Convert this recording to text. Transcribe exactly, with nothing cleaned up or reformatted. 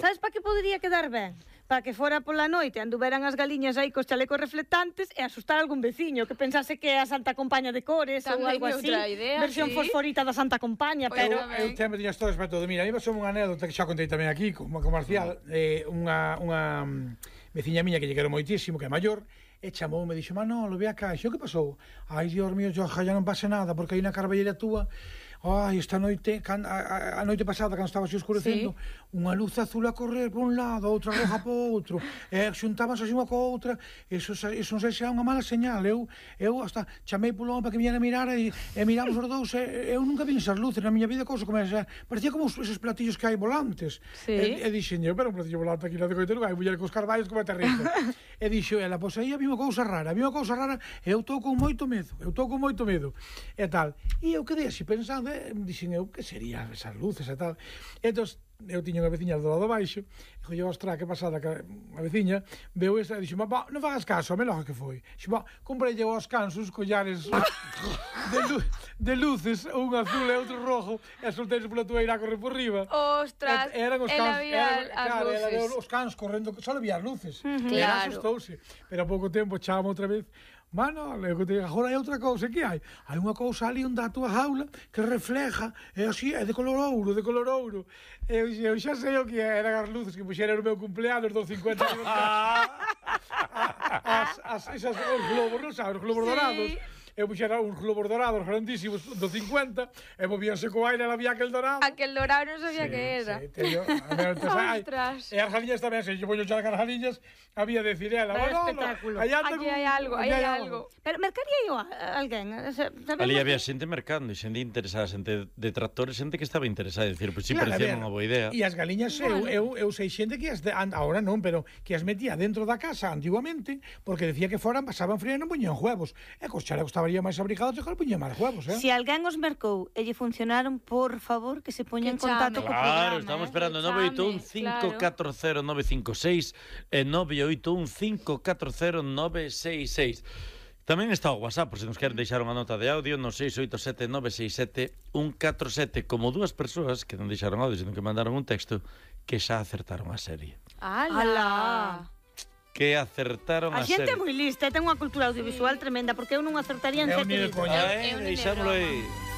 Sabes para que podería quedar ben? Para que fora pola noite anduveran as galiñas aí cos chalecos reflectantes e asustar algún veciño que pensase que é a Santa Compaña de Cores ou algo así. Idea, versión sí. fosforita da Santa Compaña, Pois pero... tamén. Eu sempre tiñas todo para todo. Mira, iba son unha anécdota que xa contei tamén aquí, como comercial, eh, unha, unha mm, veciña miña que lle quero moitísimo, que é maior, e chamou, me dixo, Manolo, ve acá, xo, que pasou? Ai, Dios mío, yo, xa non pase nada, porque aí na carballera túa, ai, esta noite, can, a, a noite pasada, cando estaba así oscurecendo, sí. unha luz azul a correr por un lado, outra roja por outro, e xuntábanse así unha co outra, eso, eso non sei se é unha mala señal, eu, eu hasta chamei polo home para que viñera a mirar, e, e miramos os dous, e, eu nunca vi esas luces na miña vida, cousa como esa, parecía como esos platillos que hai volantes, sí. e, e dixen, eu, pero un platillo volante aquí na de Coitero, hai muller cos carballos como é terrible, e dixo ela, pois aí había unha cousa rara, había unha cousa rara, e eu estou con moito medo, eu estou con moito medo, e tal, e eu quedei así pensando, e dixen eu, que serían esas luces e tal, e entón, eu tiña unha veciña do lado baixo, e dixo, ostra, que pasada, que a veciña veu esta, e dixo, ba, non fagas caso, a meloja que foi, dixo, ba, comprei aos cans uns collares de, lu de luces, un azul e outro rojo, e solteis pola tueira a correr por riba. Ostras, e, eran os cans, eran, as claro, luces. Era os cans correndo, só había as luces, uh -huh. e claro. asustouse, pero a pouco tempo chama outra vez, Mano, agora hai outra cousa, que hai? Hai unha cousa ali onde a tua jaula que refleja, é así, é de color ouro, de color ouro. Eu, eu xa sei o que eran as luces que puxeran no meu cumpleanos dos cincuenta anos. as, as, esas, os globos, non sabes, os globos sí. dorados. Eu puxera uns globos dorados grandísimos do cincuenta e movíanse co aire e había aquel dorado. Aquel dorado non sabía sí, que era. Sí, teño, Ostras. E as galiñas tamén, se yo poño xa as galiñas, había de decir ela, bueno, espectáculo. Aquí hai algo, aí hai algo. Pero mercaría eu a alguén? Ali había xente mercando, xente interesada, xente de tractores, xente que estaba interesada, decir, pois si claro, parecía unha boa idea. E as galiñas, bueno. eu, eu, eu sei xente que as de, ahora non, pero que as metía dentro da casa antiguamente, porque decía que foran, pasaban frío e non poñían huevos. E cos chalecos estaban máis abrigados e que poñían máis huevos, eh? Se alguén os mercou e lle funcionaron, por favor, que se poña en contacto co programa. Claro, estamos esperando nove oito un cinco catro cero nove cinco seis e nove oito un cinco catro cero nove seis seis. Tamén está o WhatsApp, por se nos queren deixar unha nota de audio no seis oito sete nove seis sete un catro sete, como dúas persoas que non deixaron audio, sino que mandaron un texto que xa acertaron a serie. ¡Hala! Que acertaron a, a xente serie. é moi lista, ten unha cultura audiovisual tremenda, porque eu non acertaría en sete vídeos. Eh, deixámoslo aí.